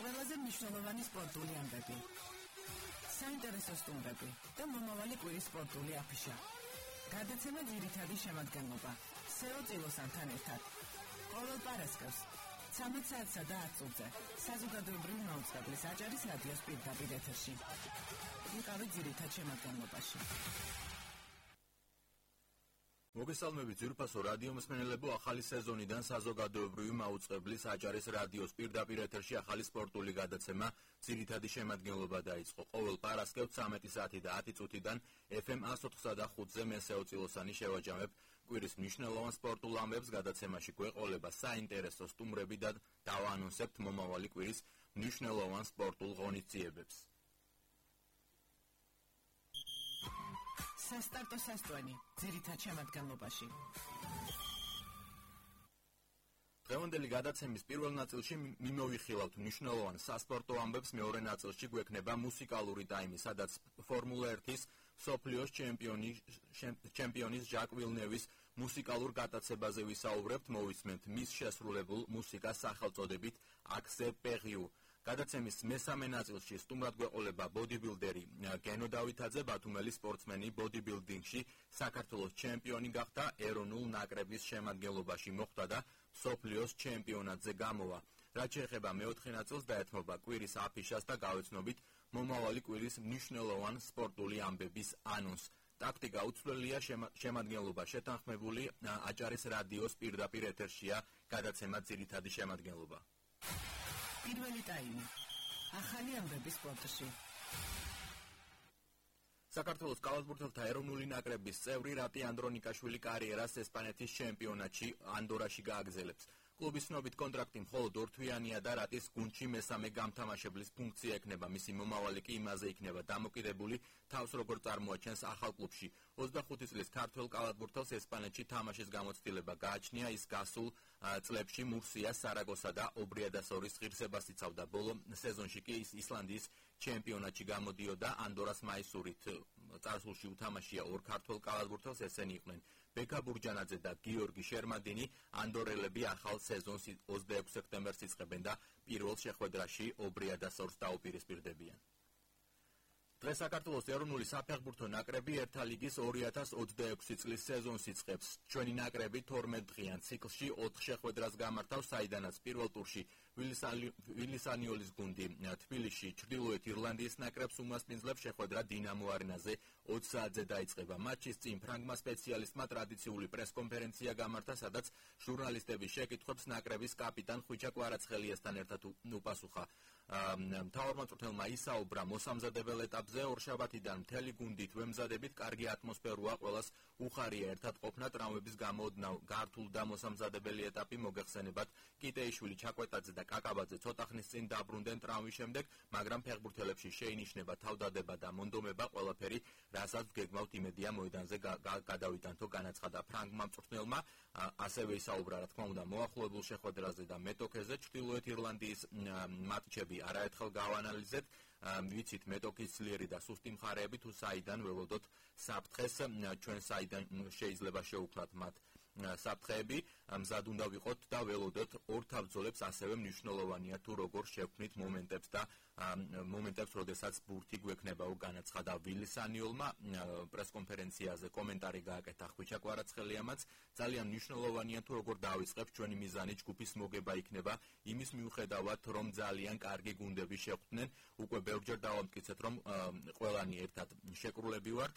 ყველაზე მნიშვნელოვანი სპორტული ამბები. საინტერესო სტუმრები და მომავალი კვირის სპორტული აფიშა. გადაცემა ძირითადი შემადგენლობა. სეო წილოსანთან ერთად. ყოველ პარასკევს 13 საათსა და 10 წუთზე საზოგადოებრივი მაუწყებლის აჭარის რადიოს პირდაპირ ეთერში. იყავით ძირითად შემადგენლობაში. მოგესალმებით ძვირფასო რადიო მსმენელებო, ახალი სეზონიდან საზოგადოებრივი მაუწყებლის აჭარის რადიოს პირდაპირ ეთერში ახალი სპორტული გადაცემა ძირითადი შემადგენლობა დაიწყო. ყოველ პარასკევს 13 საათი და 10 წუთიდან FM 104.5-ზე მე სეო წილოსანი შევაჯამებ კვირის მნიშვნელოვან სპორტულ ამბებს. გადაცემაში გვეყოლება საინტერესო სტუმრები და დავაანონსებთ მომავალი კვირის მნიშვნელოვან სპორტულ ღონისძიებებს. სასტარტო სასტვენი ძირითად შემადგენლობაში. დღევანდელი გადაცემის პირველ ნაწილში მიმოვიხილავთ მნიშვნელოვან სასპორტო ამბებს, მეორე ნაწილში გვექნება მუსიკალური ტაიმი, სადაც ფორმულა 1-ის მსოფლიოს ჩემპიონის ჟაკ ვილნევის მუსიკალურ გატაცებაზე ვისაუბრებთ, მოვისმენთ მის შესრულებულ მუსიკას სახელწოდებით Accès Périou. გადაცემის მესამე ნაწილში სტუმრად გვეყოლება ბოდიბილდერი გენო დავითაძე, ბათუმელი სპორტსმენი, ბოდიბილდინგში საქართველოს ჩემპიონი გახდა, ეროვნულ ნაკრების შემადგენლობაში მოხვდა და მსოფლიოს ჩემპიონატზე გამოვა. რაც შეეხება მეოთხე ნაწილს, დაეთმობა კვირის აფიშას და გავეცნობით მომავალი კვირის მნიშვნელოვან სპორტული ამბების ანონსს. ტაქტიკა უცვლელია, შემადგენლობა შეთანხმებული, აჭარის რადიოს პირდაპირ ეთერშია გადაცემა ძირითადი შემადგენლობა. პირველი ტაიმი. ახალი ამბები სპორტში. საქართველოს კალათბურთელთა ეროვნული ნაკრების წევრი რატი ანდრონიკაშვილი კარიერას ესპანეთის ჩემპიონატში ანდორაში გააგრძელებს. კლუბის ცნობით კონტრაქტი მხოლოდ ორთვიანია და რატის გუნდში მესამე გამთამაშებლის ფუნქცია ექნება. მისი მომავალი კი იმაზე იქნება დამოკიდებული, თავს როგორ წარმოაჩენს ახალ კლუბში. 25 წლის ქართველ კალათბურთელს ესპანეთში თამაშის გამოცდილება გააჩნია. ის გასულ წლებში მურსია, სარაგოსა და ობრიადასორის ღირსებას იცავდა. ბოლო სეზონში კი ის ისლანდიის ჩემპიონატში გამოდიოდა ანდორას მაისურით. წარსულში უთამაშია ორ ქართველ კალათბურთელს, ესენი იყვნენ ბეკა ბურჯანაძე და გიორგი შერმადინი. ანდორელები ახალ სეზონს 26 სექტემბერს იწყებენ და პირველ შეხვედრაში ობრიადასორს დაუპირისპირდებიან. დღეს საქართველოს ეროვნული საფეხბურთო ნაკრები ერთა ლიგის 2026 წლის სეზონს იწყებს. ჩვენი ნაკრები 12 დღიან ციკლში 4 შეხვედრას გამართავს, საიდანაც პირველ ტურში ვილისანიოლის გუნდი თბილისში ჩრდილოეთ ირლანდიის ნაკრებს უმასპინძლებს. შეხვედრა დინამო არენაზე 20 საათზე დაიწყება. მატჩის წინ ფრანგმა სპეციალისტმა ტრადიციული პრესკონფერენცია გამართა, სადაც ჟურნალისტების შეკითხვებს ნაკრების კაპიტან ხვიჩა კვარაცხელიასთან ერთად უპასუხა. მთავარმა მწვრთნელმა ისაუბრა მოსამზადებელ ეტაპზე, ორშაბათიდან მთელი გუნდით ვემზადებით, კარგი ატმოსფეროა, ყველას უხარია ერთად ყოფნა, ტრამვების გამოდნავ გართულ და მოსამზადებელი ეტაპი მოგეხსენებათ. კიტეიშვილი, ჩაკვეტაძე და კაკაბაძე ცოტა ხნის წინ დაბრუნდნენ ტრამვის შემდეგ, მაგრამ ფეხბურთელებში შეინიშნება თავდადება და მონდომება, ყველაფერი რასაც გეგმავთ იმედია მოედანზე გადავიდანთო, განაცხადა ფრანგმა მწვრთნელმა. ასევე ისაუბრა, რა თქმა უნდა, მოახლოებულ შეხვედრაზე და მეტოქეზე. ჩრდილოეთ ირლანდიის მატჩები არაერთხელ გავანალიზეთ. ვიცით მეტოქის ძლიერი და სუსტი მხარეები, თუ საიდან ველოდოთ საფრთხეს, ჩვენ საიდან შეიძლება შევუქმნათ მათ საფრთხეები, მზად უნდა ვიყოთ და ველოდოთ ორ თავბრძოლებს. ასევე მნიშვნელოვანია თუ როგორ შევქმნით მომენტებს, როდესაც ბურთი გვექნებაო, განაცხადა ვილისანიოლმა. პრესკონფერენციაზე კომენტარი გააკეთა ხვიჩა კვარაცხელიამაც. ძალიან მნიშვნელოვანია თუ როგორ დავიწყებთ, ჩვენი მიზანი ჯგუფის მოგება იქნება, იმის მიუხედავად რომ ძალიან კარგი გუნდები შეხვდნენ. უკვე ბევრჯერ დავამტკიცეთ, რომ ყველანი ერთად შეკრულები ვართ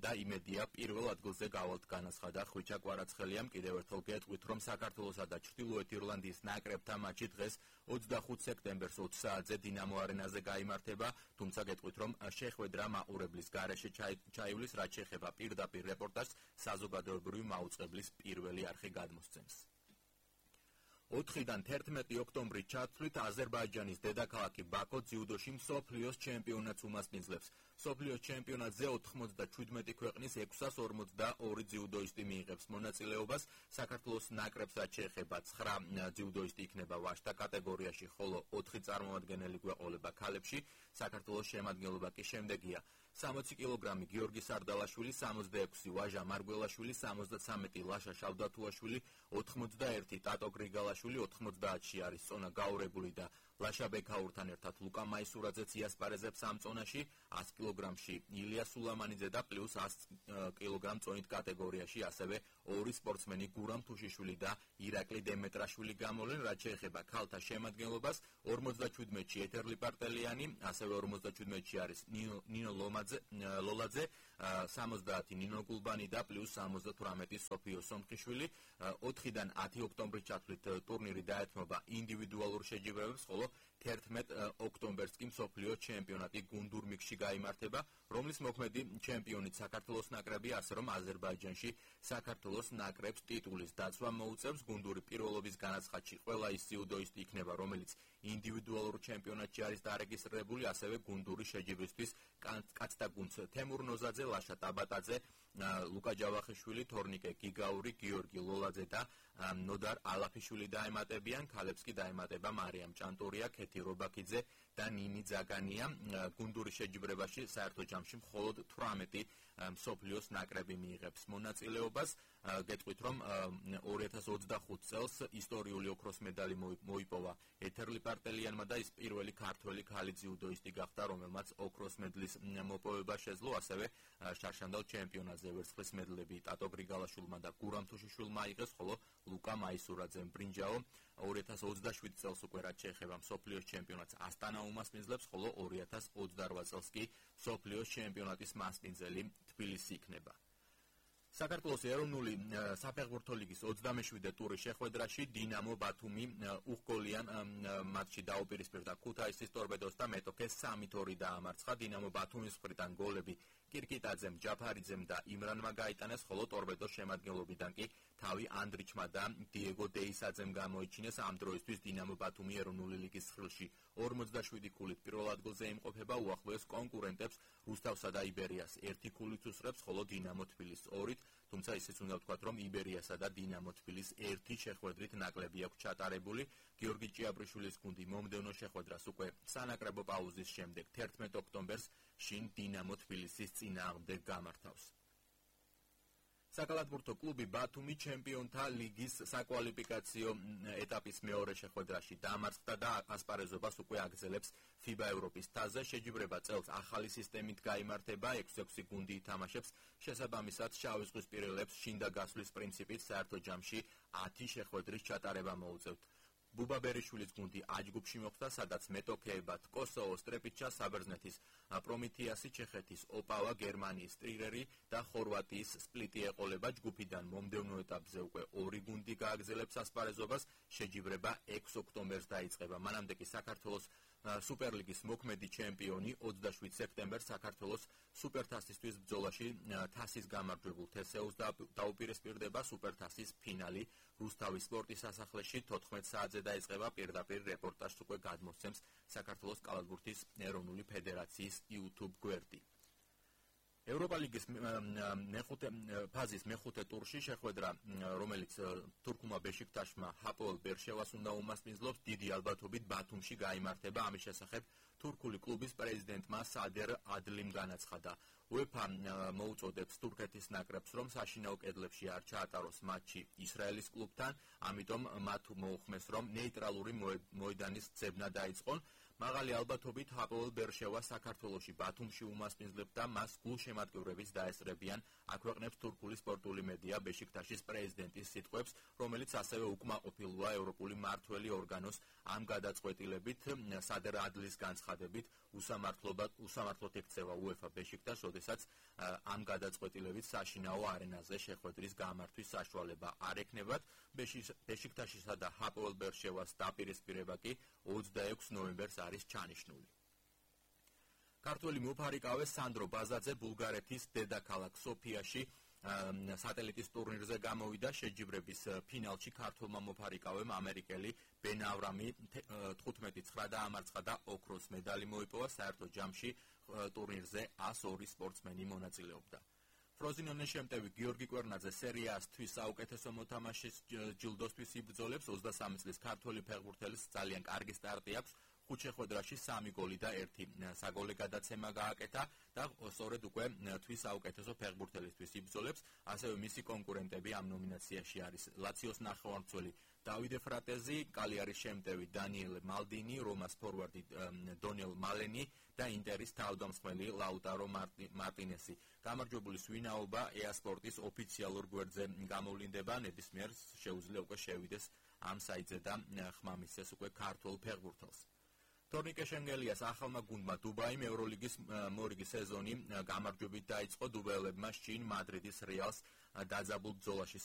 და იმედია პირველ ადგილზე გავალთ, განაცხადა ხვიჩა კვარაცხელიამ. კიდევ ერთხელ გეტყვით, რომ საქართველოსა და ჩრდილოეთ ირლანდიის ნაკრებთან მატჩი დღეს 25 სექტემბერს 20 საათზე დინამო არენაზე გაიმართება, თუმცა გეტყვით, რომ შეხვედრა მაყურებლის გარეშე ჩაივლის, რაც შეეხება პირდაპირ რეპორტაჟს საზოგადოებრივი მაუწყებლის პირველი არხი გადმოსცემს. 4-დან 11 ოქტომბრის ჩათვლით აზერბაიჯანის დედაქალაქი ბაქო ძიუდოში მსოფლიოს ჩემპიონატს უმასპინძლებს. მსოფლიოს ჩემპიონატზე 97 ქვეყნის 642 ძიუდოისტი მიიღებს მონაწილეობას. საქართველოს ნაკრებს რაც შეეხება 9 ძიუდოისტი იქნება ვაჟთა კატეგორიაში, ხოლო 4 წარმომადგენელი გვეყოლება ქალებში. საქართველოს შემადგენლობა კი შემდეგია: 60 კილოგრამი გიორგი სარდალაშვილი, 66 ვაჟა მარგველაშვილი, 73 ლაშა შავდათუაშვილი, 81 ტატო გრიგალაშვილი, ბარბალაშვილი 90-ში არის წონა გაურებული და ლაშა ბექაურთან ერთად ლუკა მაისურაძეც იასპარეზებს ამ წონაში 100 კილოგრამში ილია სულამანიძე და პლუს 100 კილოგრამ წონით კატეგორიაში ასევე ორი სპორტსმენი გურამ თუშიშვილი და ირაკლი დემეტრაშვილი გამოვლენ. რაც შეეხება ქალთა შემადგენლობას 57-ში ეთერ ლიპარტელიანი, ასევე 57-ში არის ნინო ლოლაძე, 70 ნინო გულბანი და პლუს 78 სოფიო სომხიშვილი. 4-დან 10 ოქტომბრის ჩათვლით ტურნირი დაეთმობა ინდივიდუალურ შეჯიბრებებს, ხოლო 11 ოქტომბერს კი მსოფლიო ჩემპიონატი გუნდურ მიქსში გაიმართება, რომლის მოქმედი ჩემპიონით საქართველოს ნაკრები, ასე რომ აზერბაიჯანში საქართველოს ნაკრებს ტიტულის დაცვა მოუწევს. გუნდური პირველობის განაცხადში ყველა ის ძიუდოისტი იქნება, რომელიც ინდივიდუალურ ჩემპიონატში არის დარეგისტრირებული, ასევე გუნდური შეჯიბრისთვის კაცთა გუნდს თემურ ნოზაძე, ლაშა ტაბატაძე, ლუკა ჯავახიშვილი, თორნიკე გიგაური, გიორგი ლოლაძე და ნოდარ ალაფიშვილი დაემატებიან. ქალებს კი დაემატება მარიამ ჭანტურია, ქეთი რობაქიძე და ნინი ძაგანია. გუნდური შეჯიბრებაში საერთო ჯამში მხოლოდ 18 მსოფლიოს ნაკრები მიიღებს მონაწილეობას. გეტყვით, რომ 2025 წელს ისტორიული ოქროს медаლი მოიპოვა ეთერ ლიპარტელიანმა და ის პირველი ქართველი ქალი ძიუდოისტი გახდა, რომელმაც ოქროს медаლის მოპოვება შეძლო. ასევე შარშანდალ ჩემპიონატზე ვერცხლის медаლები ტატო გრიგალაშვილმა და გურამ თუშიშვილმა აიღეს, ხოლო ლუკა მაისურაძემ ბრინჯაო. 2027 წელს უკვე რაც შეეხება მსოფლიოს ჩემპიონატს ასტანა უმასპინძლებს, ხოლო 2028 წელს კი მსოფლიოს ჩემპიონატის მასპინძელი თბილისი იქნება. საქართველოს ეროვნული საფეხბურთო ლიგის 27 ტურის შეხვედრაში დინამო ბათუმი უხგოლიან მატჩში დაუპირისპირდა ქუთაისის ტორპედოს და მეტოქეს 3-2 დაამარცხა. დინამო ბათუმის მხრიდან გოლები კირკიტაძემ, ჯაფარიძემ და იმრანმა გაიტანეს, ხოლო ტორპედოს შემადგენლობიდან კი თავი ანდრიჩმა და დიეგო დეისაძემ გამოიჩინეს. ამ დროისთვის დინამო ბათუმი ეროვნული ლიგის ცხრილში 47 ქულით პირველ ადგილზე იმყოფება, უახლოეს კონკურენტებს რუსთავსა და იბერიას 1 ქულით უსწრებს, ხოლო დინამო თბილისს 2-ით, თუმცა ისიც უნდა ვთქვათ, რომ იბერიასა და დინამო თბილისს 1 შეხვედრით ნაკლები აქვს ჩატარებული. გიორგი ჭიაბრიშვილის გუნდი მომდევნო შეხვედრას უკვე სანაკრებო პაუზის შემდეგ 11 ოქტომბერს შინ დინამო თბილისის წინააღმდეგ გამართავს. საკალათბურთო კლუბი ბათუმი ჩემპიონთა ლიგის საკვალიფიკაციო ეტაპის მეორე შეხვედრაში დამარცხდა და ასპარეზობას უკვე აგრძელებს FIBA ევროპის თასზე. შეჯიბრება წელს ახალი სისტემით გაიმართება, 6-6 გუნდი ითამაშებს, შესაბამისად შავი ზღვის პირელებს შინდა გასვლის პრინციპით საერთო ჯამში 10 შეხვედრის ჩატარება მოუწევთ. ბუბა ბერიშვილის გუნდი აჯგუფში მოხვდა, სადაც მეტოქეებად კოსოვო, სტრეპიჩა, საბერძნეთის პრომეთეასი, ჩეხეთის ოპავა, გერმანიის ტრირერი და ხორვატიის სპლიტი ეყოლება. ჯგუფიდან მომდევნო ეტაპზე უკვე 2 გუნდი გააგრძელებს ასპარეზობას. შეჯიბრება 6 ოქტომბერს დაიწყება. მანამდე კი საქართველოს სუპერლიგის მოქმედი ჩემპიონი 27 სექტემბერს საქართველოს სუპერთასისთვის ბრძოლაში თასის გამარჯვებულ თესეულს დაუპირისპირდება. სუპერთასის ფინალი რუსთავის სპორტის სასახლეში 14 საათზე დაიწყება. პირდაპირ რეპორტაჟს უკვე გადმოსცემს საქართველოს კალათბურთის ეროვნული ფედერაციის YouTube გვერდი. ევროპა ლიგის ფაზის მეხუთე ტურში შეხვედრა, რომელიც თურქულმა ბეშიქტაშმა ჰაპოელ ბერშევას უნდა უმასპინძლოს, დიდი ალბათობით ბათუმში გაიმართება. ამის შესახებ თურქული კლუბის პრეზიდენტმა სადერ ადლიმ განაცხადა. UEFA მოუწოდებს თურქეთის ნაკრებს, რომ საშინაო კედლებში არ ჩაატაროს მატჩი ისრაელის კლუბთან, ამიტომ მათ მოუხმეს, რომ ნეიტრალური მოედანის ძებნა დაიწყონ. მაღალი ალბათობით ჰაპოელ ბერშევა საქართველოში ბათუმში უმასპინძლებს და მას გულშემატკივრებიც დაესწრებიან, აქვეყნებს თურქული სპორტული მედია ბეშიქტაშის პრეზიდენტის სიტყვებს, რომელიც ასევე უკმაყოფილოა ევროპული მმართველი ორგანოს ამ გადაწყვეტილებით. სადერ ადლის განცხადებით უსამართლოდ ექცევა UEFA ბეშიქტაშს, როდესაც ამ გადაწყვეტილებით საშინაო არენაზე შეხვედრის გამართვის საშუალება არ ექნებათ. ბეშიქტაშისა და ჰაპოელ ბერშევას დაპირისპირება კი 26 ნოემბერს არის ჩანიშნული. ქართველი მოფარიკავე სანდრო ბაზაძე ბულგარეთის დედაქალაქ სოფიაში სატელიტის ტურნირზე გამოვიდა. შეჯიბრების ფინალში ქართველმა მოფარიკავემ ამერიკელი ბენ ავრამი 15-9 დაამარცხა და ოქროს медаლი მოიპოვა. საერთო ჯამში ტურნირზე 102 სპორტსმენი მონაწილეობდა. ფროზინონის შემტევი გიორგი კვერნაძე სერიასთვის საუკეთესო მოთამაშის ჯილდოსთვის იბრძოლებს. 23 წლის ქართველი ფეხბურთელის ძალიან კარგი სტარტი აქვს. 5 შეხვედრაში 3 გოლი და 1 საგოლე გადაცემა გააკეთა და სწორედ უკვე თვის საუკეთესო ფეხბურთელისთვის იბრძოლებს. ასევე მისი კონკურენტები ამ ნომინაციაში არის ლაციოს ნახევარმცველი დავიდე ფრატეზი, კალიარის შემტევი დანიელ მალდინი, რომას ფორვარდი დონელ მალენი და ინტერის თავდამსხმელი ლაუტარო მარტინესი. გამარჯვებულის ვინაობა EA-Sports ოფიციალურ გვერდზე გამოვლინდება, ნებისმიერ შეუძლია უკვე შევიდეს ამ საიტზე და ხმა მისცეს უკვე ქართულ ფეხბურთელს. Tornike Shengelias ახალმა გუნდმა დუბაიმ ევროლიგის მორიგი სეზონი გამარჯვებით დაიწყო დუბაელებმა შინ მადრიდის რეალს დაძაბულ ბრძოლაში